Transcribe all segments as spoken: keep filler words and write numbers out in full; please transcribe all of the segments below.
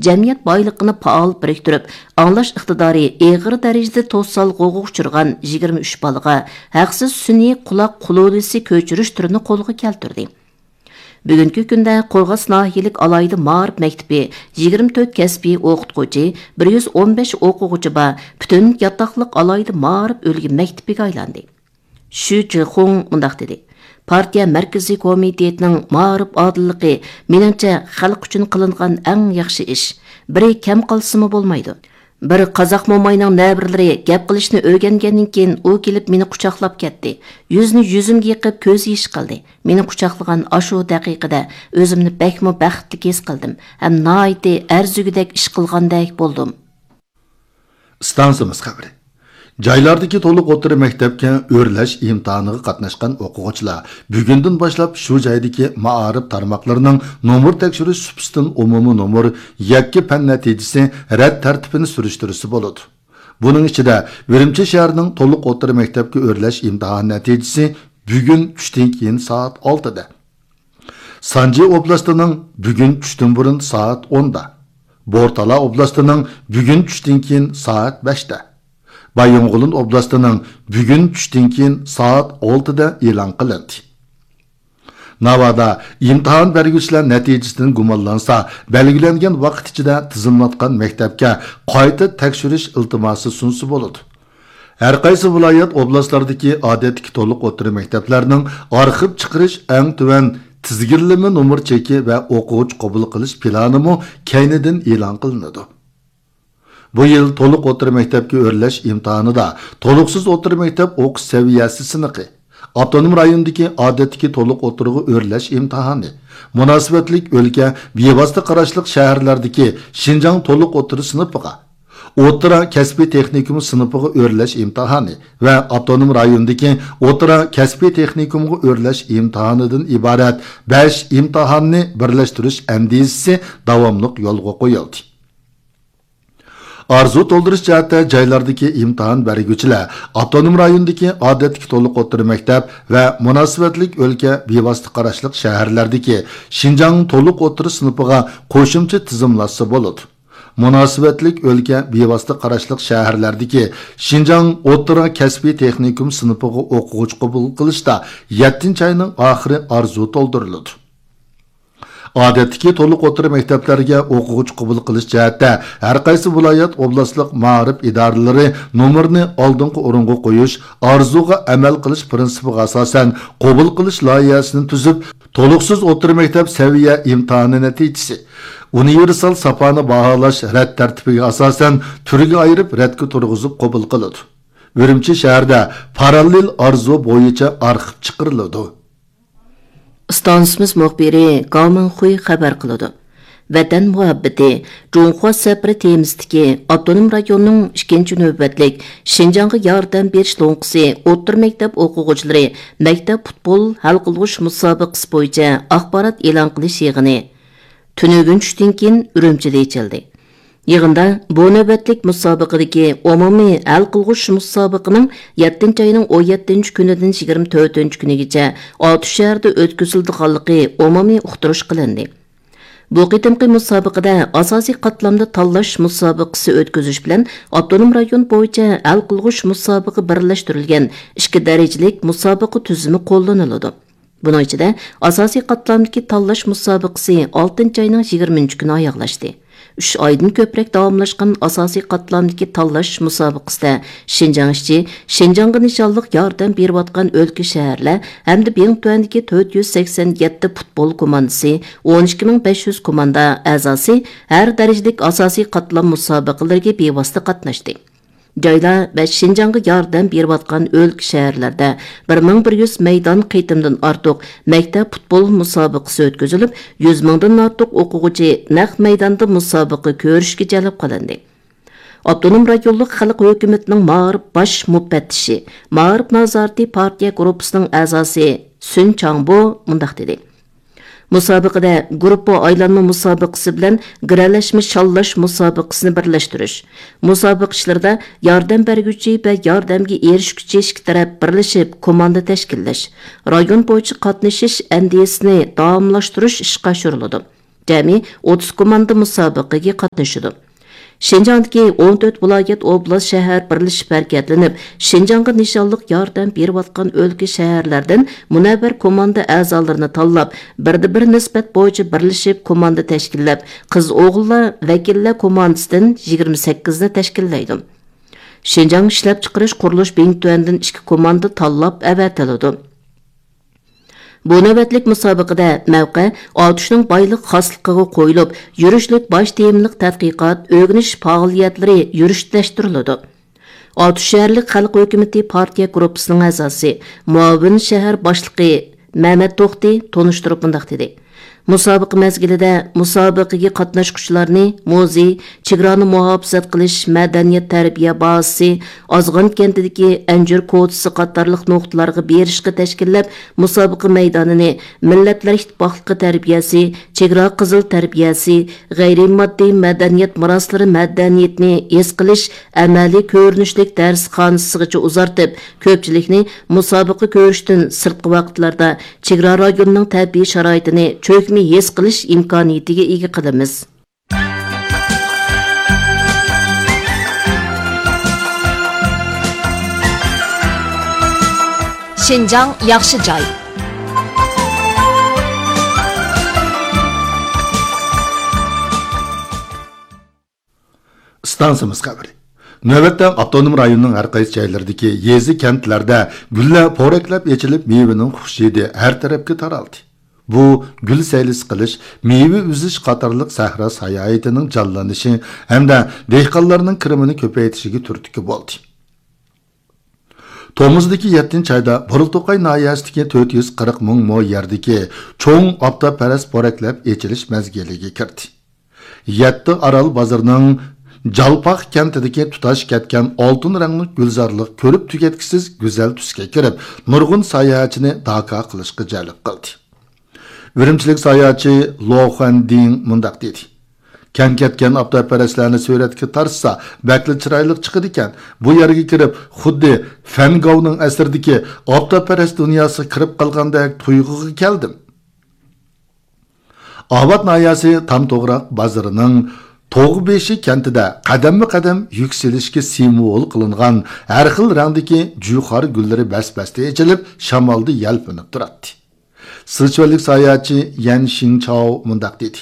جەمئىيەت بايلىقىنى پائال بىرىكتۈرۈپ، ئاڭلاش ئىقتىدارى ئېغىر دەرىجىدە توسالغۇغا ئۇچرىغان يىگىرمە ئۈچ بالىغا ھەقسىز سۈنئىي قۇلاق قۇلۇلىسى كۆچۈرۈش تۈرىنى قولغا كەلتۈردى. بۈگۈنكى كۈندە قورغاس ناھىيەلىك ئالاھىدە مائارىپ مەكتىپى يىگىرمە تۆت كەسپىي ئوقۇتقۇچى، بىر يۈز ئون بەش ئوقۇغۇچى بار پۈتۈن ياتاقلىق ئالاھىدە مائارىپ ئۈلگە مەكتىپىگە ئايلاندى. شۈ جىخۇڭ مۇنداق دېدى: پارتىيە مەركىزىي كومىتېتىنىڭ مائارىپ ئادىللىقى، مېنىڭچە، خەلق ئۈچۈن قىلىنغان ئەڭ ياخشى ئىش. بىرى كەم قالسىمۇ بولمايدۇ. بىر قازاق موماينىڭ نەۋرىلىرى گەپ قىلىشنى ئۆگەنگەندىن كېيىن، ئۇ كېلىپ مېنى قۇچاقلاپ كەتتى. يۈزىنى يۈزۈمگە يېقىپ، كۆز يېشى قىلدى. مېنى قۇچاقلىغان ئاشۇ دەقىقىدە ئۆزۈمنى بەكمۇ بەختلىك ھېس قىلدىم ھەم ناھايىتى ئەرزىگۈدەك ئىش قىلغاندەك بولدۇم. ئىستانسىمىز خەۋىرى. جايلاردىكى تولۇق ئوتتۇرا مەكتەپكە ئۆرلەش ئىمتىھانىغا قاتناشقان ئوقۇغۇچىلار بۈگۈندىن باشلاپ شۇ جايدىكى مائارىپ تارماقلىرىنىڭ نومۇر تەكشۈرۈش سۇپىسىدىن ئومۇمىي نومۇر يەككە پەن نەتىجىسى رەت تەرتىپىنى سۈرۈشتۈرسە بولىدۇ. بۇنىڭ ئىچىدە ئۈرۈمچى شەھىرىنىڭ تولۇق ئوتتۇرا مەكتەپكە ئۆرلەش ئىمتىھانى نەتىجىسى بۈگۈن چۈشتىن كېيىن سائەت ئالتىدە، سانجى ئوبلاستىنىڭ بۈگۈن چۈشتىن بۇرۇن سائەت ئوندا، بورتالا ئوبلاستىنىڭ بۈگۈن چۈشتىن كېيىن سائەت بەشتە، بايىنغولىن ئوبلاستىنىڭ بۈگۈن چۈشتىن كېيىن سائەت ئالتىدە ئېلان قىلىندى. ناۋادا ئىمتىھان بەرگۈچىلەر نەتىجىسىدىن گۇمانلانسا، بەلگىلەنگەن ۋاقىت ئىچىدە تىزىملاتقان مەكتەپكە قايتا تەكشۈرۈش ئىلتىماسى سۇنسا بولىدۇ. ھەرقايسى ۋىلايەت، ئوبلاستلاردىكى ئادەتتىكى تولۇق ئوتتۇرا مەكتەپلەرنىڭ ئارخىپ چىقىرىش ئەڭ تۆۋەن تىزگىنلىمە نومۇر چېكى ۋە ئوقۇغۇچى قوبۇل قىلىش پىلانىمۇ كەينىدىن ئېلان قىلىنىدۇ. بۇ يىل تولۇق ئوتتۇرا مەكتەپكە ئۆرلەش ئىمتىھانىدا تولۇقسىز ئوتتۇرا مەكتەپ ئوقۇش سەۋىيەسى سىنىقى، ئاپتونوم رايوندىكى ئادەتتىكى تولۇق ئوتتۇرىغا ئۆرلەش ئىمتىھانى، مۇناسىۋەتلىك ئۆلكە بىۋاسىتە قاراشلىق شەھەرلەردىكى شىنجاڭ تولۇق ئوتتۇرا سىنىپىغا، ئوتتۇرا كەسپىي تېخنىكوم سىنىپىغا ئۆرلەش ئىمتىھانى ۋە ئاپتونوم رايوندىكى ئوتتۇرا كەسپىي تېخنىكومغا ئۆرلەش ئىمتىھانىدىن ئىبارەت بەش ئىمتىھاننى بىرلەشتۈرۈش ئەندىزىسى داۋاملىق يولغا قويۇلدى. ئارزۇ تولدۇرۇش جەھەتتە جايلاردىكى ئىمتىھان بەرگۈچىلەر ئاپتونوم رايوندىكى ئادەتتىكى تولۇق ئوتتۇرا مەكتەپ ۋە مۇناسىۋەتلىك ئۆلكە بىۋاسىتە قاراشلىق شەھەرلەردىكى شىنجاڭ تولۇق ئوتتۇرا سىنىپىغا قوشۇمچە تىزىملاتسا بولىدۇ. مۇناسىۋەتلىك ئۆلكە بىۋاسىتە قاراشلىق شەھەرلەردىكى شىنجاڭ ئوتتۇرا كەسپىي تېخنىكوم سىنىپىغا ئوقۇغۇچى قوبۇل قىلىشتا يەتتىنچى ئاينىڭ ئاخىرى ئارزۇ تولدۇرۇلىدۇ. ئادەتتىكى تولۇق ئوتتۇرا مەكتەپلەرگە ئوقۇغۇچى قوبۇل قىلىش جەھەتتە ھەرقايسى ۋىلايەت، ئوبلاستلىق مائارىپ ئىدارىلىرى نومۇرنى ئالدىنقى ئورۇنغا قويۇش، ئارزۇغا ئەمەل قىلىش پىرىنسىپىغا ئاساسەن قوبۇل قىلىش لايىھەسىنى تۈزۈپ، تولۇقسىز ئوتتۇرا مەكتەپ سەۋىيە ئىمتىھانى نەتىجىسى، ئۇنىۋېرسال ساپانى باھالاش رەت تەرتىپىگە ئاساسەن تۈرگە ئايرىپ رەتكە تۇرغۇزۇپ قوبۇل قىلىدۇ. ئۈرۈمچى شەھىرىدە پاراللېل ئارزۇ بويىچە ئارخىپ چىقىرىلىدۇ. ئىستانسىمىز مۇخبىرى گاۋ مىڭخۇي خەۋەر قىلىدۇ. ۋەتەن مۇھەببىتى، جۇڭخۇا سەپىرى تېمىسىدىكى ئاپتونوم رايوننىڭ ئىككىنچى نۆۋەتلىك شىنجاڭغا ياردەم بېرىش لوڭقىسى ئوتتۇرا مەكتەپ ئوقۇغۇچىلىرى مەكتەپ پۇتبول ھەل قىلغۇچ مۇسابىقىسى بويىچە ئاخبارات ئېلان قىلىش يىغىنى تۈنۈگۈن چۈشتىن كېيىن ئۈرۈمچىدە ئېچىلدى. يىغىندا بۇ نۆۋەتلىك مۇسابىقىدىكى ئومۇمىي ھەل قىلغۇچ مۇسابىقىنىڭ يەتتىنچى ئاينىڭ ئون يەتتىنچى كۈنىدىن يىگىرمە تۆتىنچى كۈنىگىچە ئاتۇش شەھىرىدە ئۆتكۈزۈلىدىغانلىقى ئومۇمىي ئۇقتۇرۇش قىلىندى. بۇ قېتىمقى مۇسابىقىدە ئاساسىي قاتلامدا تاللاش مۇسابىقىسى ئۆتكۈزۈش بىلەن ئاپتونوم رايون بويىچە ھەل قىلغۇچ مۇسابىقە بىرلەشتۈرۈلگەن ئىككى دەرىجىلىك مۇسابىقە تۈزۈمى قوللىنىلىدۇ. بۇنىڭ ئىچىدە ئاساسىي قاتلامدىكى تاللاش مۇسابىقىسى ئالتىنچى ئاينىڭ يىگىرمىنچى كۈنى ئاياغلاشتى. ئۈچ ئايدىن كۆپرەك داۋاملاشقان ئاساسىي قاتلامدىكى تاللاش مۇسابىقىسىدە شىنجاڭ ئىچى، شىنجاڭغا نىشانلىق ياردەم بېرىۋاتقان ئۆلكە، شەھەرلەر ھەمدە بىڭتۈەندىكى تۆت يۈز سەكسەن يەتتە پۇتبول كوماندىسى، ئون ئىككى مىڭ بەش يۈز كوماندا ئەزاسى ھەر دەرىجىلىك ئاساسىي قاتلام مۇسابىقىلىرىگە بىۋاسىتە قاتناشتى. جايلار ۋە شىنجاڭغا ياردەم بېرىۋاتقان ئۆلكە، شەھەرلەردە بىر مىڭ بىر يۈز مەيدان قېتىمدىن ئارتۇق مەكتەپ پۇتبول مۇسابىقىسى ئۆتكۈزۈلۈپ، يۈز مىڭدىن ئارتۇق ئوقۇغۇچى نەق مەيداندا مۇسابىقە كۆرۈشكە جەلپ قىلىندى. ئاپتونوم رايونلۇق خەلق ھۆكۈمىتىنىڭ مائارىپ باش مۇپەتتىشى، مائارىپ نازارىتى پارتىيە گۇرۇپپىسىنىڭ ئەزاسى سۈن چاڭبو مۇنداق دېدى: مۇسابىقىدە گۇرۇپپا ئايلانما مۇسابىقىسى بىلەن گىرەلەشمە شاللاش مۇسابىقىسىنى بىرلەشتۈرۈش، مۇسابىقە ئىشلىرىدا ياردەم بەرگۈچى ۋە ياردەمگە ئېرىشكۈچى ئىككى تەرەپ بىرلىشىپ كوماندا تەشكىللەش، رايون بويىچە قاتنىشىش ئەندىزىسىنى داۋاملاشتۇرۇش ئىشقا ئاشۇرۇلىدۇ. جەمئىي ئوتتۇز كوماندا مۇسابىقىگە قاتنىشىدۇ. شىنجاڭدىكى ئون تۆت ۋىلايەت، ئوبلاست، شەھەر بىرلىشىپ ھەرىكەتلىنىپ، شىنجاڭغا نىشانلىق ياردەم بېرىۋاتقان ئۆلكە، شەھەرلەردىن مۇنەۋۋەر كوماندا ئەزالىرىنى تاللاپ، بىردە بىر نىسبەت بويىچە بىرلىشىپ كوماندا تەشكىللەپ، قىز-ئوغۇللار ۋەكىللەر كوماندىسىدىن يىگىرمە سەككىزنى تەشكىللەيدۇ. شىنجاڭ ئىشلەپچىقىرىش قۇرۇلۇش بىڭتۈەندىن ئىككى كوماندا تاللاپ ئەۋەتىلىدۇ. بۇ نۆۋەتلىك مۇسابىقىدە مەۋقە ئاتۇشنىڭ بايلىق خاسلىقىغا قويۇلۇپ، يۈرۈشلۈك باش تېمىلىق تەتقىقات، ئۆگىنىش پائالىيەتلىرى يۈرۈشلەشتۈرۈلىدۇ. ئاتۇش شەھەرلىك خەلق ھۆكۈمىتى پارتىيە گۇرۇپپىسىنىڭ ئەزاسى، مۇئاۋىن شەھەر باشلىقى مەمەت توختى تونۇشتۇرۇپ مۇنداق دېدى: مۇسابىقە مەزگىلىدە مۇسابىقىگە قاتناشقۇچىلارنى مۇزېي، چېگرانى مۇھاپىزەت قىلىش، مەدەنىيەت تەربىيە بازىسى، ئازغان كەنتىدىكى ئەنجۈر كوچىسى قاتارلىق نۇقتىلارغا بېرىشقا تەشكىللەپ، مۇسابىقە مەيدانىنى مىللەتلەر ئىتتىپاقلىقى تەربىيەسى، چېگرا قىزىل تەربىيەسى، غەيرىي ماددىي مەدەنىيەت مىراسلىرى مەدەنىيىتىنى ھېس قىلىش ئەمەلىي كۆرۈنۈشلۈك دەرسخانىسىغىچە ئۇزارتىپ، كۆپچىلىكنى مۇسابىقە كۆرۈشتىن سىرتقى ۋاقىتلاردا چېگرا رايونىنىڭ تەبىئىي شارائىتىنى چۆكمە ھېس قىلىش ئىمكانىيىتىگە ئىگە قىلىمىز. شىنجاڭ ياخشى جاي. ئىستانسىمىز خەۋىرى. نۆۋەتتە ئاپتونوم رايوننىڭ ھەر قايسى جايلىرىدىكى يېزا، كەنتلەردە گۈللەر پورەكلەپ ئېچىلىپ، مېۋىنىڭ خۇش ھىدى ھەر تەرەپكە تارالدى. بۇ گۈل سەيلىسى قىلىش، مېۋە ئۈزۈش قاتارلىق سەھرا ساياھىتىنىڭ جانلىنىشى ھەمدە دېھقانلارنىڭ كىرىمىنى كۆپەيتىشىگە تۈرتكە بولدى. تومۇزدىكى يەتتىنچى ئايدا بورۇلتۇقاي ناھىيەسىدىكى تۆت يۈز قىرىق مىڭ مو يەردىكى چوڭ ئابدالپەرەس پورەكلەپ ئېچىلىش مەزگىلىگە كىردى. يەتتە ئارال بازىرىنىڭ جالپاق كەنتىدىكى تۇتاش كەتكەن ئالتۇن رەڭلىك گۈلزارلىق كۆرۈپ تۈگەتكۈسىز گۈزەل تۈسكە كىرىپ، نۇرغۇن ساياھەتچىنى داكا قىلىشقا جەلپ قىلدى. ئۈرۈمچىلىك ساياھەتچى لو خۇەندىڭ مۇنداق دېدى: كەم كەتكەن ئابدالپەرەسلەرنى سۈرەتكە تارتسا، بەكلا چىرايلىق چىقىدىكەن. بۇ يەرگە كىرىپ، خۇددى فەن گاۋنىڭ ئەسىرىدىكى ئابدالپەرەس دۇنياسىغا كىرىپ قالغاندەك تۇيغۇغا كەلدىم. ئاۋات ناھىيەسى تام توغراق بازىرىنىڭ توغبېشى كەنتىدە قەدەممۇ قەدەم يۈكسىلىشكە سىمۋول قىلىنغان ھەر خىل رەڭدىكى جۇخار گۈللىرى بەس-بەستە ئېچىلىپ، شامالدا يەلپۈنۈپ تۇراتتى. سىچۈەنلىك ساياھەتچى يەن شىڭچاۋ مۇنداق دېدى: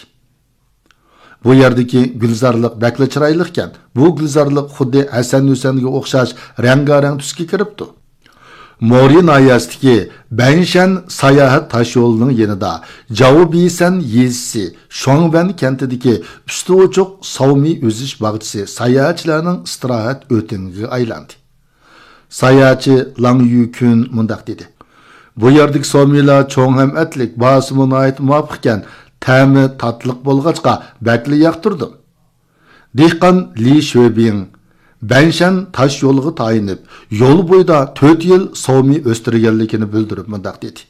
بۇ يەردىكى گۈلزارلىق بەكلا چىرايلىقكەن. بۇ گۈلزارلىق خۇددى ھەسەن-ھۈسەنگە ئوخشاش رەڭگارەڭ تۈسكە كىرىپتۇ. مورى ناھىيەسىدىكى بەنشەن ساياھەت تاشيولىنىڭ يېنىدا جاۋبىسەن يېزىسى شۇاڭۋەن كەنتىدىكى ئۈستى ئوچۇق ساۋمى ئۈزۈش باغچىسى ساياھەتچىلەرنىڭ ئىستىراھەت ئۆتىڭىگە ئايلاندى. ساياھەتچى لاڭ يۈكۈن مۇنداق دېدى: بۇ يەردىكى ساۋمىلار چوڭ ھەم ئەتلىك، باھاسىمۇ ناھايىتى مۇۋاپىقكەن، تەمى تاتلىق بولغاچقا بەكلا ياقتۇردۇم. دېھقان لى شۆبىڭ بەنشەن تاش يولىغا تايىنىپ، يول بويىدا تۆت يىل ساۋمى ئۆستۈرگەنلىكىنى بىلدۈرۈپ مۇنداق دېدى: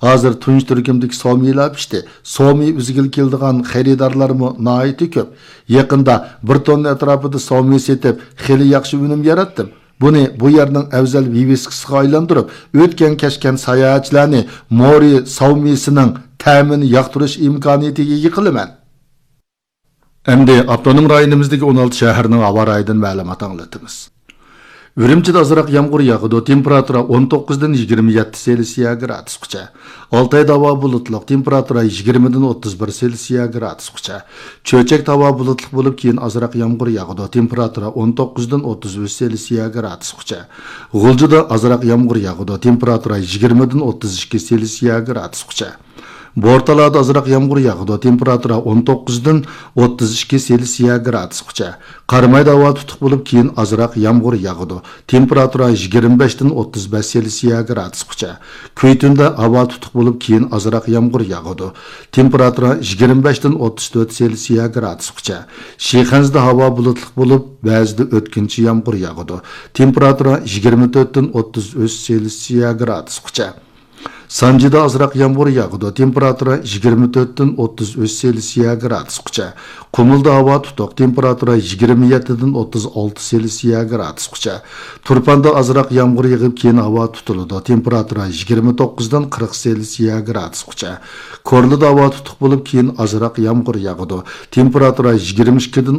ھازىر تۇنجى تۈركۈمدىكى ساۋمىلار پىشتى. ساۋمى ئۈزگىلى كېلىدىغان خېرىدارلارمۇ ناھايىتى كۆپ. يېقىندا بىر توننا ئەتراپىدا ساۋمى سېتىپ، خېلى ياخشى ئۈنۈم ياراتتىم. بۇنى بۇ يەرنىڭ ئەۋزەل ۋىۋىسكىسىغا ئايلاندۇرۇپ، ئۆتكەن كەچكەن ساياھەتچىلەرنى مورى ساۋمىسىنىڭ تەمىنى ياقتۇرۇش ئىمكانىيىتىگە ئىگە قىلىمەن. ئەمدى ئاپتونوم رايونىمىزدىكى ئون ئالتە شەھەرنىڭ ھاۋا رايىدىن مەلۇمات ئاڭلىتىمىز. ئۈرۈمچىدە ئازراق يامغۇر ياغىدۇ، تېمپېراتۇرا ئون توققۇزدىن يىگىرمە يەتتە سېلسىيە گرادۇسقىچە. ئالتايدا ھاۋا بۇلۇتلۇق، تېمپېراتۇرا يىگىرمىدىن ئوتتۇز بىر سېلسىيە گرادۇسقىچە. چۆچەكتە ھاۋا بۇلۇتلۇق بولۇپ، كېيىن ئازراق يامغۇر ياغىدۇ، تېمپېراتۇرا ئون توققۇزدىن ئوتتۇز ئۈچ سېلسىيە گرادۇسقىچە. غۇلجىدا ئازراق يامغۇر ياغىدۇ، تېمپېراتۇرا يىگىرمىدىن ئوتتۇز ئىككى سېلسىيە گرادۇسقىچە. بورتالادا ئازراق يامغۇر ياغىدۇ، تېمپېراتۇرا ئون توققۇزدىن ئوتتۇز ئىككى سېلسىيە گرادۇسقىچە. قارامايدا ھاۋا تۇتۇق بولۇپ، كېيىن ئازراق يامغۇر ياغىدۇ، تېمپېراتۇرا يىگىرمە بەشتىن ئوتتۇز بەش سېلسىيە گرادۇسقىچە. كۈيتۈندە ھاۋا تۇتۇق بولۇپ، كېيىن ئازراق يامغۇر ياغىدۇ، تېمپېراتۇرا يىگىرمە بەشتىن ئوتتۇز تۆت سېلسىيە گرادۇسقىچە. شىخەنزىدە ھاۋا بۇلۇتلۇق بولۇپ، بەزىدە ئۆتكۈنچى يامغۇر ياغىدۇ، تېمپېراتۇرا يىگىرمە تۆتتىن ئوتتۇز ئۈچ سېلسىيە گرادۇسقىچە. سانجىدا ئازراق يامغۇر ياغىدۇ، تېمپېراتۇرا يىگىرمە تۆتتىن ئوتتۇز ئۈچ سېلسىيە گرادۇسقىچە. قۇمۇلدا ھاۋا تۇتۇق، تېمپېراتۇرا يىگىرمە يەتتىدىن ئوتتۇز ئالتە سېلسىيە گرادۇسقىچە. تۇرپاندا ئازراق يامغۇر يېغىپ، كېيىن ھاۋا تۇتۇلىدۇ، تېمپېراتۇرا يىگىرمە توققۇزدىن قىرىق سېلسىيە گرادۇسقىچە. كورلىدا ھاۋا تۇتۇق بولۇپ، كېيىن ئازراق يامغۇر ياغىدۇ، تېمپېراتۇرا يىگىرمە ئىككىدىن